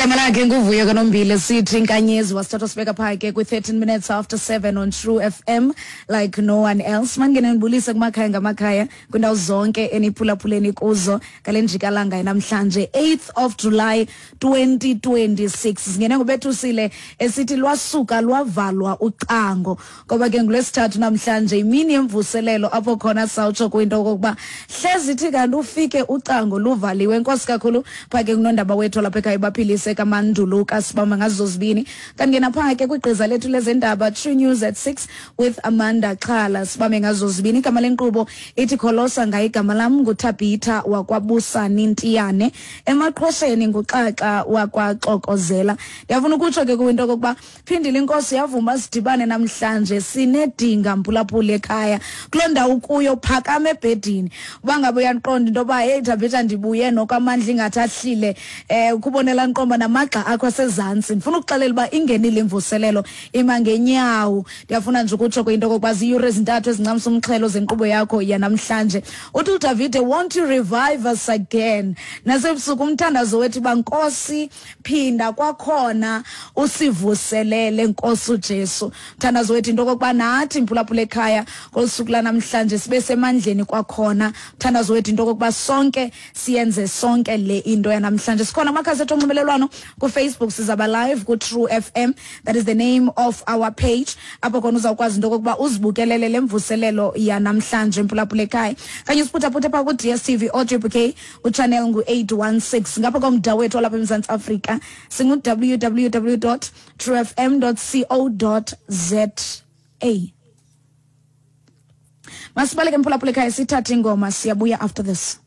Igama lakhe nguVuyo kaNombile, sithi inkanyezi. Wasithatha sibeka phaa ke kwi-13 minutes after 7 on True FM like no one else. Mandingene ndibulise kumakhaya ngamakhaya kwindawo zonke eniphulaphuleni kuzo ngale njikalanga namhlanje, 8th of July 2026. Singene ngubethusile esithi lwasuka lwavalwa ucango, ngoba ke ngulwesithathu namhlanje, imini yemvuselelo, apho khona sawutsho kwinto okokuba hlezi ithi kanti ufike ucango luvaliwe. Enkosi kakhulu phaa ke kunondaba wethu lapha ekhaya, baphilise kamanduluka, sibamba ngazo zibini. Kanti ke naphaa ke kwigqiza lethu lezendaba, True News at 6 with Amanda Xhala, sibambe ngazo zibini. Igama lenkqubo ithi Kholosa ngaye. Igama lam nguThabitha wakwaBusani Ntiyane, emaqhosheni nguXaxa wakwaXokozela. Ndiyafuna ukutsho ke kwinto okokuba phindile inkosi yavuma sidibane namhlanje. Sinedinga, mphulaphula ekhaya, kuloo ndawo kuyo phakama ebhedini. Uba ngabe uyaqonda into yoba, "Heyi Thabitha, ndibuye noko amandla ingathi ahlile," ukubonela nqomba namagxa akho asezantsi, ndifuna ukuxelela uba ingenile imvuselelo, ima ngenyawo. Ndiyafuna nje ukutsho kwinto okokuba ziyure ezintathu ezincamisa umxhelo zenkqubo yakho yanamhlanje. Uthi uDavide, "Won't you revive us again?" Nasebusuku umthandazo wethu uba, "Nkosi, phinda kwakhona usivuselele, Nkosi uJesu." Mthandazo wethu into okokuba nathi, mphulaphula ekhaya, ngolu suku lanamhlanje sibe semandleni kwakhona. Mthandazo wethu into okokuba sonke siyenze sonke le into yanamhlanje. Sikhona kumakhasi ethu onxibelelwano. KuFacebook sizaba live ku-True FM, that is the name of our page, apho khona uzawukwazi into okokuba uzibukelele le mvuselelo yanamhlanje, mphulaphula ekhaya. Kanye usiphuthaphuthe phaa ku-DStv audio bouquet, uchannel ngu-816. Ngapha komda wethu olapha eMzantsi Afrika singu-www truefm co za. Masibaleke, mphulaphula ekhaya, sithathe ingoma, siyabuya after this.